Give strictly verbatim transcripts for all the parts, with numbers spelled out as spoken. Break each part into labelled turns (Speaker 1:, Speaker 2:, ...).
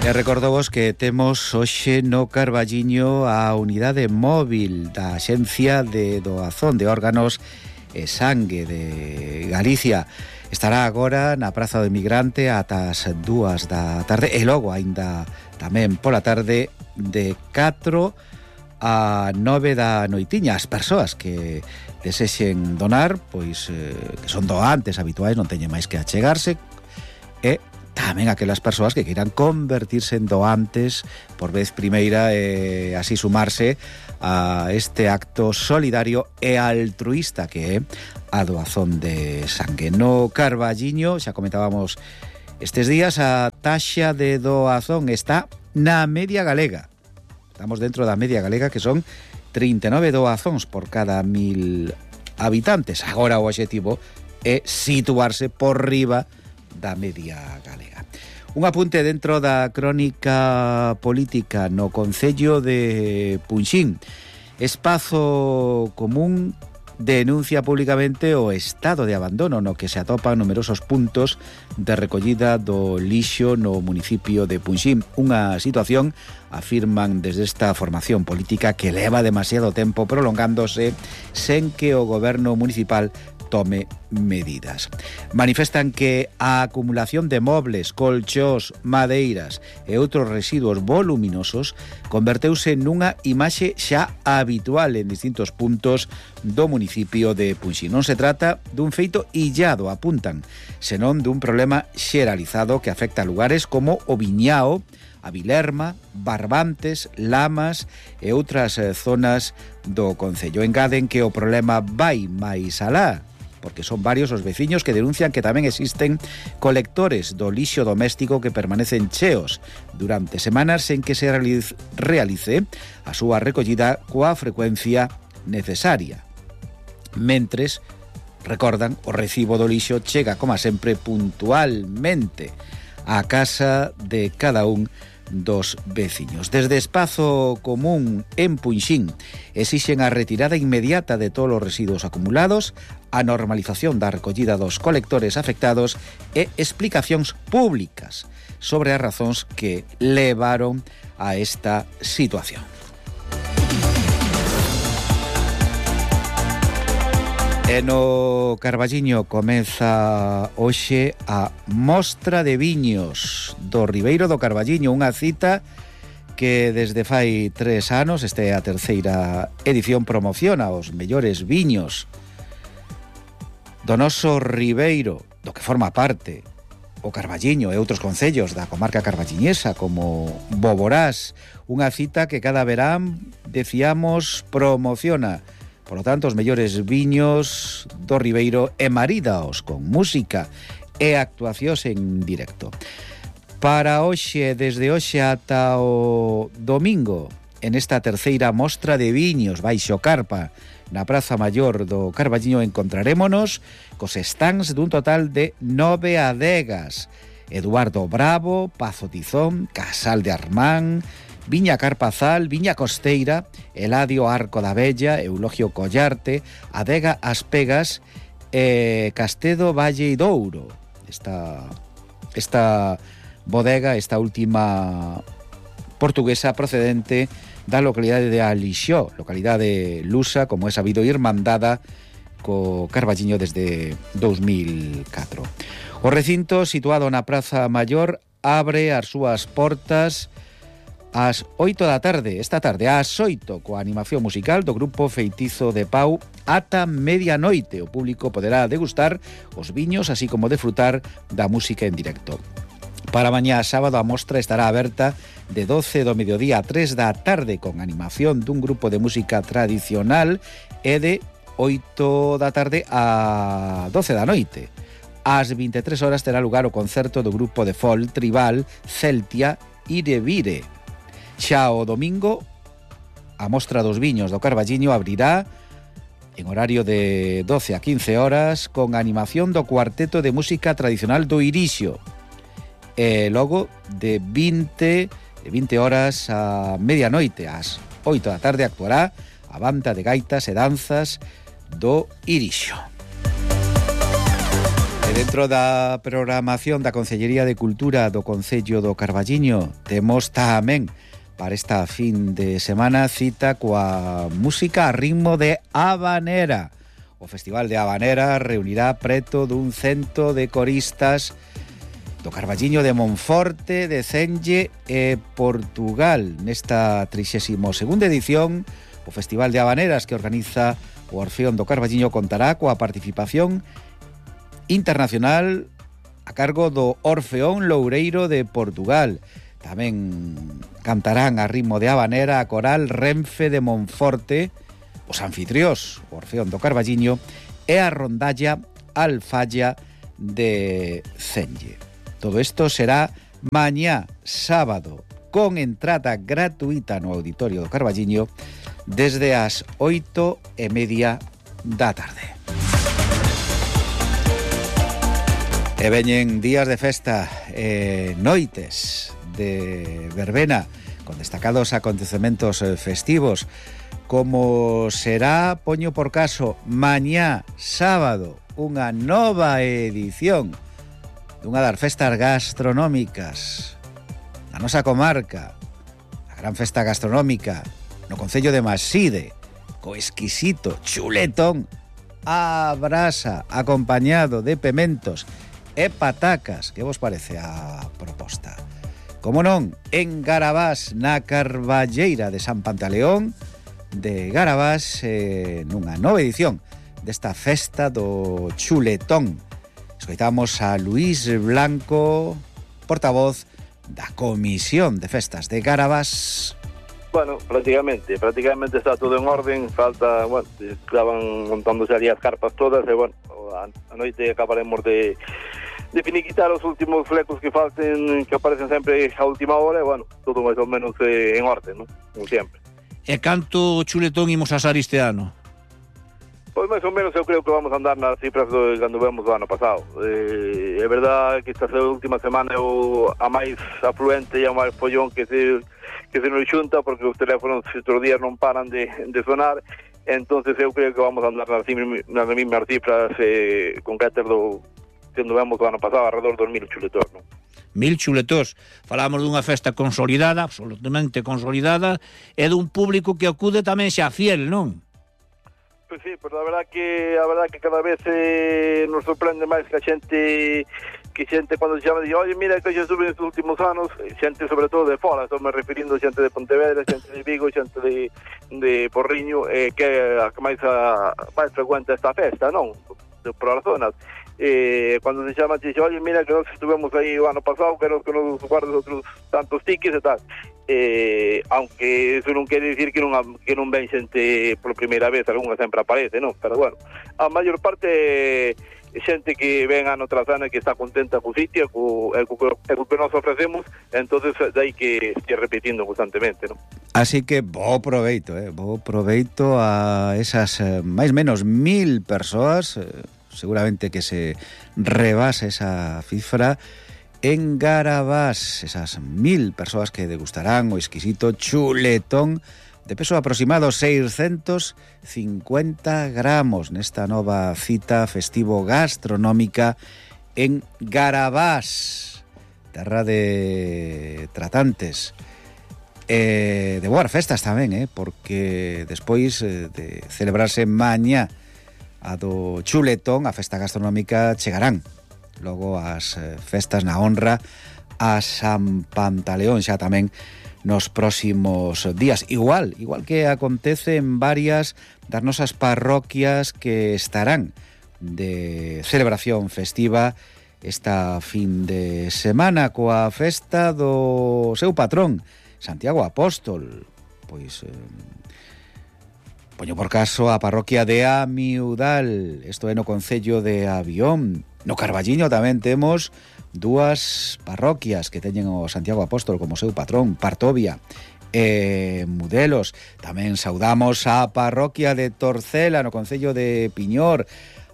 Speaker 1: E recordovos que temos hoxe no Carballiño a unidade móvil da Axencia de Doazón de Órganos e Sangue de Galicia. Estará agora na Praza do Emigrante ata as dúas da tarde e logo aínda tamén pola tarde de catro a nove da noitiña. As persoas que desexen donar, pois eh, que son doantes habituais, non teñen máis que achegarse, e tamén aquelas persoas que queiran convertirse en doantes por vez primeira e así sumarse a este acto solidario e altruísta que é a doazón de sangue. No Carballiño, xa comentábamos estes días, a taxa de doazón está na media galega. Estamos dentro da media galega, que son trinta e nove doazóns por cada mil habitantes. Agora o obxectivo é situarse por riba da media galega. Un apunte dentro da crónica política no Concello de Punxín. Espazo Común denuncia públicamente o estado de abandono no que se atopan numerosos puntos de recollida do lixo no municipio de Punxín. Unha situación, afirman desde esta formación política, que leva demasiado tempo prolongándose sen que o goberno municipal tome medidas. Manifestan que a acumulación de mobles, colchós, madeiras e outros residuos voluminosos converteuse nunha imaxe xa habitual en distintos puntos do municipio de Punxín. Non se trata dun feito illado, apuntan, senón dun problema xeralizado que afecta a lugares como o Viñao, a Vilerma, Barbantes, Lamas e outras zonas do concello. Engaden que o problema vai máis alá, porque son varios os veciños que denuncian que tamén existen colectores do lixo doméstico que permanecen cheos durante semanas sen que se realice a súa recollida coa frecuencia necesaria. Mentres, recordan, o recibo do lixo chega, como sempre, puntualmente á casa de cada un dos veciños. Desde Espazo Común en Punxín exixen a retirada inmediata de todos os residuos acumulados, a normalización da recollida dos colectores afectados e explicacións públicas sobre as razóns que levaron a esta situación. E no Carballiño comeza hoxe a Mostra de Viños do Ribeiro do Carballiño, unha cita que desde fai tres anos, esta é a terceira edición, promociona os mellores viños do noso Ribeiro, do que forma parte o Carballiño e outros concellos da comarca carballiñesa como Boborás, unha cita que cada verán, decíamos, promociona. Por lo tanto, os mellores viños do Ribeiro e maridaos con música e actuacións en directo. Para hoxe, desde hoxe ata o domingo, en esta terceira mostra de viños baixo carpa na Praza Maior do Carballiño, encontrarémonos cos stands dun total de nove adegas: Eduardo Bravo, Pazo Tizón, Casal de Armán, Viña Carpazal, Viña Costeira, Eladio Arco da Bella, Eulogio Collarte, Adega As Pegas e Castedo Valle Douro. Esta, esta bodega, esta última portuguesa procedente da localidade de Alixó, localidade lusa, como é sabido, irmandada co Carballiño desde dous mil catro. O recinto, situado na Praza Maior, abre as súas portas ás oito da tarde, esta tarde, ás oito, coa animación musical do grupo Feitizo de Pau ata medianoite. O público poderá degustar os viños, así como desfrutar da música en directo. Para mañá sábado a mostra estará aberta de doce do mediodía a tres da tarde con animación dun grupo de música tradicional e de oito da tarde a doce da noite. Ás vinte e tres horas terá lugar o concerto do grupo de folk tribal Celtia Irevire. Xa o domingo, a mostra dos viños do Carballiño abrirá en horario de doce a quince horas con animación do cuarteto de música tradicional do Irixo. E logo de vinte, de vinte horas a medianoite, ás oito da tarde, actuará a banda de gaitas e danzas do Irixo. E Dentro da programación da Concellería de Cultura do Concello do Carballiño temos tamén para esta fin de semana cita coa música a ritmo de habanera. O Festival de Habanera reunirá preto dun cento de coristas do Carballiño, de Monforte, de Cenge e Portugal. Nesta trixésima segunda edición, o Festival de Habaneras que organiza o Orfeón do Carballiño contará coa participación internacional a cargo do Orfeón Loureiro de Portugal. Tamén cantarán a ritmo de habanera a coral Renfe de Monforte, os anfitriós, o Orfeón do Carballiño e a rondalla Alfalla de Cenge. Todo isto será mañá sábado con entrada gratuita no Auditorio do Carballiño desde as oito e media da tarde. E veñen días de festa e noites de verbena con destacados acontecementos festivos, como será, poño por caso, mañá sábado, unha nova edición dunha das festas gastronómicas da nosa comarca, a gran festa gastronómica no concello de Maside, co exquisito chuletón a brasa acompañado de pementos e patacas. Que vos parece a proposta? Como non, en Garabás, na Carballeira de San Pantaleón de Garabás, eh, nunha nova edición desta festa do chuletón. Escoitamos a Luís Blanco, portavoz da Comisión de Festas de Garabás.
Speaker 2: Bueno, prácticamente, prácticamente está todo en orden, falta, bueno, estaban montándose ali as carpas todas, e bueno, a, a noite acabaremos de, de finiquitar os últimos flecos que falten, que aparecen sempre a última hora, e bueno, todo máis ou menos eh, en orden, ¿no? Como sempre.
Speaker 3: E canto chuletón imos asar este ano?
Speaker 2: Pois máis ou menos eu creo que vamos a andar nas cifras do cando vemos o ano pasado. Eh, é verdade que esta última semana é o, a máis afluente e a máis follón que se que se nos xunta, porque os teléfonos estes días non paran de, de sonar. Entonces eu creo que vamos a andar nas, nas mesmas cifras eh, concretas do cando vemos o ano pasado, alrededor dos mil chuletós, non?
Speaker 3: Mil chuletós. Falamos dunha festa consolidada, absolutamente consolidada, e dun público que acude tamén xa fiel, non?
Speaker 2: Pois sí, pois a verdad que a verdad que cada vez eh, nos sorprende máis que a xente que xente cando se chama dice, oye, mira que xa estuve nestes últimos anos, xente sobre todo de fora, estou me referindo a xente de Pontevedra, xente de Vigo, xente de, de Porriño, eh, que é a que máis, a, máis frecuente esta festa, non? De, por as zonas. Eh, cando se chama, dice, oye, mira que nós estuvemos aí o ano pasado, que nos, que nos guardas outros tantos tickets e tal. Eh, aunque eso non quere dicir que non, que non ven xente por primeira vez, algunha sempre aparece, non? Pero bueno, a maior parte xente que ven ano tras ano e que está contenta co sitio, co, co, co que nos ofrecemos, entonces dai que esté repetindo constantemente, non?
Speaker 1: Así que bo proveito, eh? bo proveito a esas eh, máis menos mil persoas, eh, seguramente que se rebase esa cifra en Garabás, esas mil persoas que degustarán o exquisito chuletón de peso aproximado seiscentos cincuenta gramos nesta nova cita festivo gastronómica en Garabás, terra de tratantes e de boas festas tamén, eh? Porque despois eh, de celebrarse mañá a do chuletón, a festa gastronómica, chegarán logo as eh, festas na honra a San Pantaleón xa tamén nos próximos días. Igual, igual que acontece en varias das nosas parroquias que estarán de celebración festiva esta fin de semana coa festa do seu patrón, Santiago Apóstol. Pois eh, poño por caso a parroquia de Amiudal, isto é no concello de Avión. No Carballiño tamén temos dúas parroquias que teñen o Santiago Apóstol como seu patrón, Partovia e Mudelos. Tamén saudamos a parroquia de Torcela no concello de Piñor,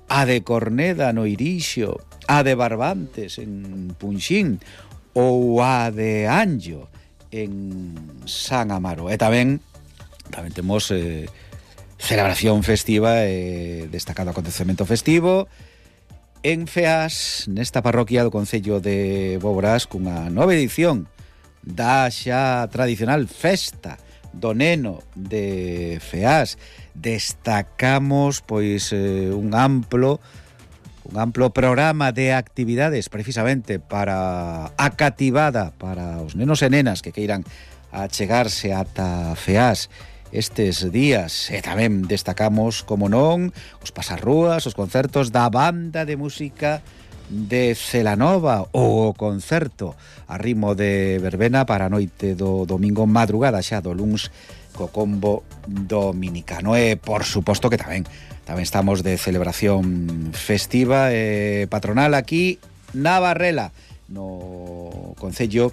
Speaker 1: a de Corneda no Irixo, a de Barbantes en Punxín ou a de Anllo en San Amaro. E tamén tamén temos eh, celebración festiva e destacado acontecemento festivo En Feas, nesta parroquia do concello de Boborás, cunha nova edición da xa tradicional festa do neno de Feas, destacamos pois eh, un amplo un amplo programa de actividades precisamente para a cativada, para os nenos e nenas que queiran achegarse ata Feas estes días. E tamén destacamos, como non, os pasarrúas, os concertos da banda de música de Celanova, ou o concerto a ritmo de verbena para a noite do domingo, madrugada xa do luns, co combo dominicano. E, por suposto, que tamén tamén estamos de celebración festiva e patronal aquí na Barrela, no concello